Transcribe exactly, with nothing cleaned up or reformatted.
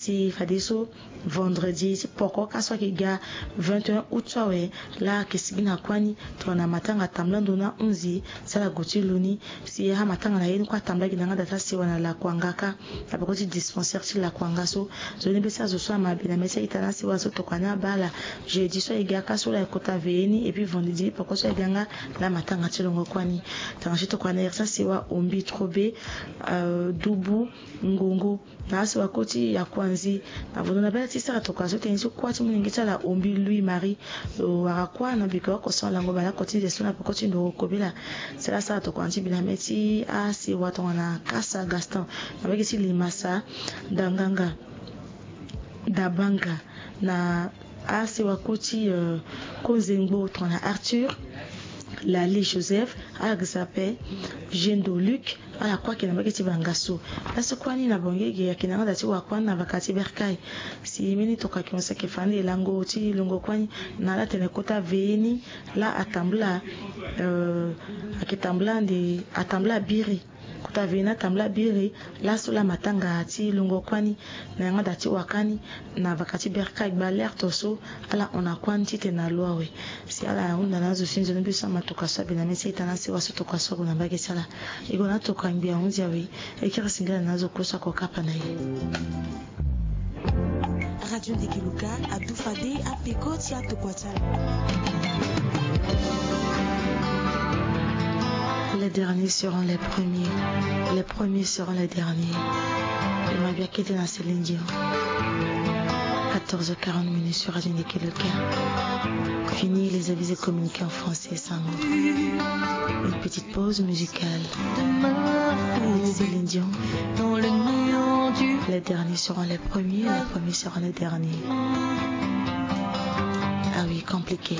Si fadeso vendredi ti poko ka so ayeke ga vingt et un août so awe, laa ayeke sigi na kuâ ni tongana matanga tambula ndo na hunzi ti ala gue ti lo ni. Si amatanga na ye ni kue atambula gi na yanga da ti asewa na Lakuanga kâ, na peko ti dispensaire ti Lakuanga so. Nzoni be ti azo so amabe na mê ti a-ita na asewa so tokua ni abaa ala. Jeudi so ayeke ga kâ so laa ayeke kota veillée ni, et puis vendredi poko so ayeke ga nga laa amatanga ti longo kuâ ni. Tanga ti tokua na iri ti asewa Ombi, Trobe, euh, Dubu, Ngongo. Na asewa koti ya Kwanzi, na vondo na bela ti sara tokua so tënë ti kuâ ti molenge ti ala Ombi Louis Marie. Lo wara kuâ na biko oko so alango bale oko ti nze so na peko ti ndoro kobela. Sala sara tokua ti bi na mê ti asewa tongana Kasa Gaston, na mbage ti Limasa, Danganga, Dabanga, na asewa koti, euh, Konzengbo tongana Arthur, Lali Joseph, Agzape, Jendo Luc, ala kue ayeke na mbage ti Bangasso. Laso kuâ ni na Bangui ge ayeke na yanga da ti wa kuâ ni na vaka ti bercail. Si mbeni tokua ayeke mo si ayeke fa ande lango ti longo kuâ ni na ala tene kota veillée ni laa atambula, euh, ayeke tambula ande atambula biri. Kota veillée ni atambula biri, laso laa matanga ti longo kuâ ni na yanga da ti wa kuâ ni na vaka ti bercail gba alerte so ala hon na kuâ ni titene na lo awe. Si ala hunda na azo si nzoni be so amatoka so abe na mê ti a-ita na asewa so tokua so ague na mbage ti ala. E gue na tokua ngbi ahunzi awe. E kiri singila na azo kue so ako kapa na e. Radio Ndeke Luka adu fade apeko ti atokua ti ala. Les derniers seront les premiers. Les premiers seront les derniers. Mabia kete na Céline Dion. Quatorze heures quarante minutes sur Radio Ndeke Luka. Fini les avis et communiqués en français, Sango. Une petite pause musicale. Avec Céline Dion. Les derniers seront les premiers, les premiers seront les derniers. Ah oui, compliqué.